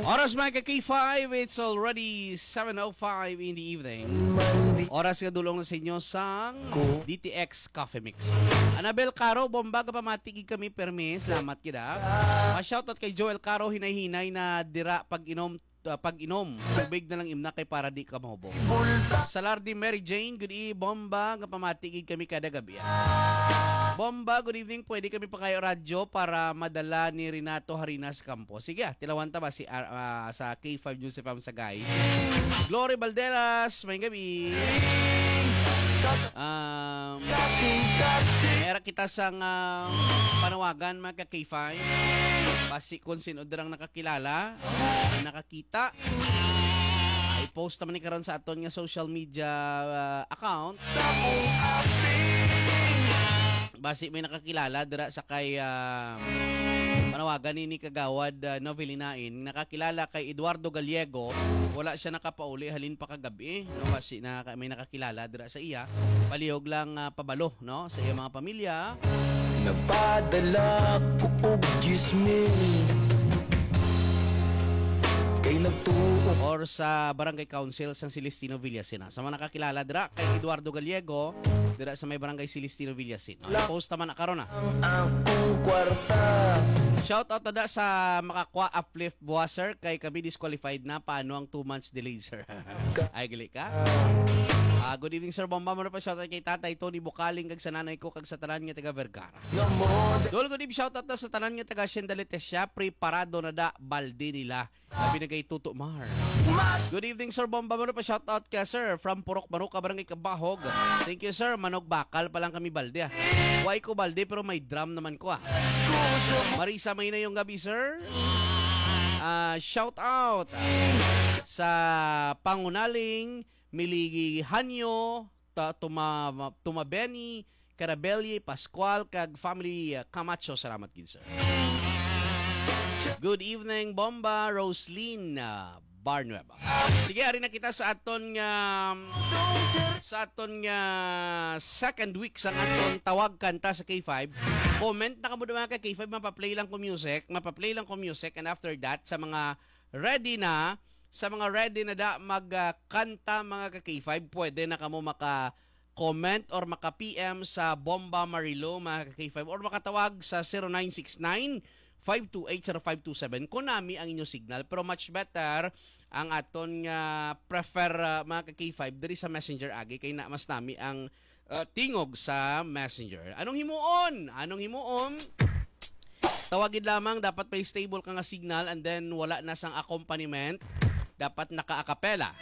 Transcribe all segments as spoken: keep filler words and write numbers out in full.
Oras, mga ka-K five, it's already seven oh five in the evening. Oras nga dulong na sa inyo sang D T X Coffee Mix. Annabel Caro, bomba ka pamati gid kami, permi. Salamat gid, ah. Pa-shoutout kay Joel Caro, hinay-hinay na dira pag-inom, ah, pag-inom. Tubig na lang imna kay para di ka mahubog. Salardi Mary Jane, good e-, bomba nga pamati gid kami kada gabi. Bomba, good evening. Pwede kami pangayo radyo para madala ni Renato Harina sa kampo. Sige, ah, tilawan ta ba si R-, ah, sa K five News F M Sagay? Glory Balderas, may gabi. Um, Kasing-kasing. Meron kita sang, ah, panawagan, mga ka-K five. Basi kung sino dirang nakakilala, nakakita. Ah, i-post naman ni karon sa aton nga social media, ah, account. Sa kung aping. Basi may nakakilala dira sa kay, ah, panawagan ni, ni Kagawad, ah, Novelinain. Nakakilala kay Eduardo Gallego. Wala siya nakapauli halin pa kagabi, no? Basi na may nakakilala dira sa iya. Palihog lang, ah, pabalo, no? Sa iyang mga pamilya. Nagpadala ko og diyes mil. Kay nagtuo. Or sa barangay council sang Celestino Villaseñor. Sa mga nakakilala dira kay Eduardo Gallego, dira sa may barangay Celestino Villaseñor. Post naman na karon, ah. Ang akong kwarta. Shout out na sa Makakwa Uplift Buwaser, kay kami disqualified na. Paano ang two months delay, sir? Ay, gali ka? Ah, good evening, Sir Bomba. Muna pa shout out kay Tatay Tony Bukaling, kag sa nanay ko, kag sa tanan nga taga Vergara. Dol, good evening, shout out na sa tanan nga taga Hacienda Letecia. Preparado na da balde nila. Sabi na kay Tuto Mar. Good evening, Sir Bomba. Muna pa shout out ka, sir. From Purok Manuka, Barangay Kabahog. Thank you, sir. Manog bakal pa lang kami balde, ah. Why ko balde, pero may drum naman ko, ah. Marisa, may na yung gabi, sir. Ah, shout out sa Pangunaling, Milihanyo, Ta-, Tuma-, Tumabeni, Carabelli, Pascual, kag family, ah, Camacho. Salamat gid, sir. Good evening, Bomba, Roslyn, ah, Barnueva. Sige, ari na kita sa aton nga, sa aton nga second week sa aton tawag kanta sa K five. Comment na kamo, mga ka K five, mapaplay lang ko music, mapaplay lang ko music, and after that, sa mga ready na, sa mga ready na da mag, ah, kanta, mga ka K five, pwede na kamo maka comment or maka-P M sa Bomba Marilo, mga ka-K five, or makatawag sa zero nine six nine, five two eight, zero five two seven. Kung nami ang inyo signal, pero much better ang aton nga prefer, ah, mga ka-K five, diri sa Messenger agi, kay na mas nami ang, ah, tingog sa Messenger. Anong himuon? Anong himuon? Tawagid lamang, dapat may stable ka nga signal and then wala na sang accompaniment. Dapat naka-acapella.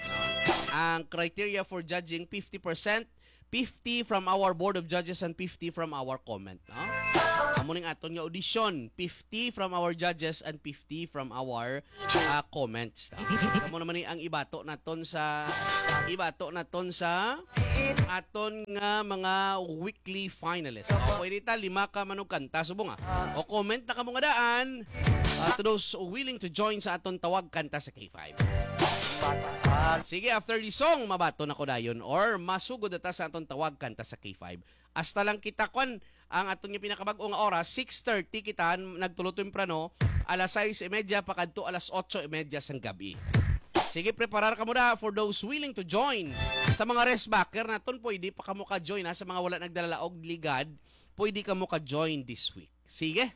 Ang criteria for judging, fifty percent, fifty from our Board of Judges and fifty from our comment, no? Amo ning aton nga audition, fifty from our judges and fifty from our, ah, comments. Amo naman ni ang ibato naton sa, ibato naton sa aton nga mga weekly finalists. O, pwede ta, lima ka manugkanta, subong, ah. O, comment na kamo nga daan, ah, to those willing to join sa aton tawag kanta sa K five. Sige, after the song, mabato na ko dayon or masugod na ta sa aton tawag kanta sa K five. Hasta lang kita, kwan, ang aton nga pinakabag-o nga oras, six thirty kita nagtulo temprano, alas sais y media pa kadto alas otso y media sang gabi. Sige, preparar kamo na for those willing to join. Sa mga rest backer naton, pwede pa kamo ka-join, ha. Sa mga wala nagdala og ligad, pwede kamo ka-join this week. Sige.